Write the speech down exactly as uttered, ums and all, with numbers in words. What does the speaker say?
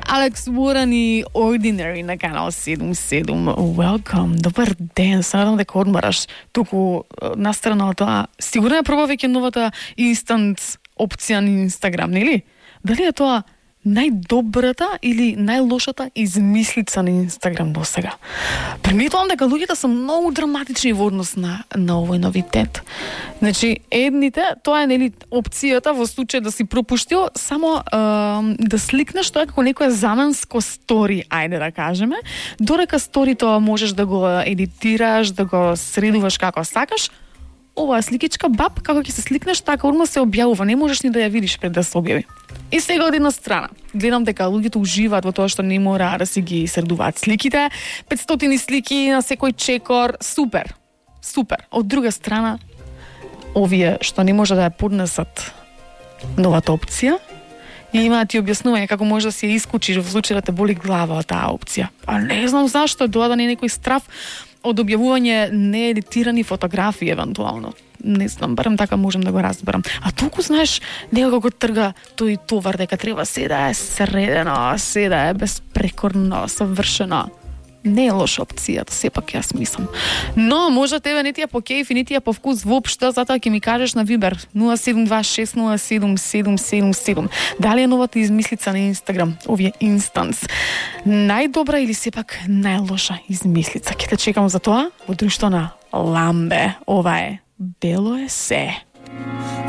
Алекс Уорен и Ordinary на канал седум седум. Welcome, добар ден, се надам дека одмараш. Туку настрана од тоа, сигурно ја пробав веќе новата инстант опција на Инстаграм, нели? Дали е тоа најдобрата или најлошата измислица на Инстаграм до сега? Приметувам дека луѓето се многу драматични во однос на, на овој новитет. Значи, едните, тоа е нели опцијата во случај да си пропуштил само е, да сликнеш тоа како некое заменско стори, ајде да кажеме, додека сторито можеш да го едитираш, да го средуваш како сакаш. Оваа сликичка баб, како ќе се сликнеш, така одма се објавува, не можеш ни да ја видиш пред да се објави. И сега од една страна, гледам дека луѓето уживаат во тоа што не мора да си ги средуваат сликите, петстотини слики на секој чекор, супер, супер. Од друга страна, овие што не може да ја поднесат новата опција, и имаат и објаснување како може да си ја исклучиш во случај да те боли глава од таа опција. А не знам зашто, тоа да не е некој страф од објавување неедитирани фотографии евентуално. Не знам, барем така можем да го разберам. А толку знаеш, некако го трга тој товар дека треба се да е средено, се да е безпрекорно, совршено. Не е лоша опцијата, сепак јас мислам. Но може тебе не ти ја по кејф и не ти ја по вкус воопшто, затоа ќе ми кажеш на Вибер нула седум два шест нула седум седум седум седум. Дали е новата измислица на Инстаграм, овие инстанс, најдобра или сепак најлоша измислица? Ќе те чекам за тоа во друштво на Ламбе. Ова е Бело е се.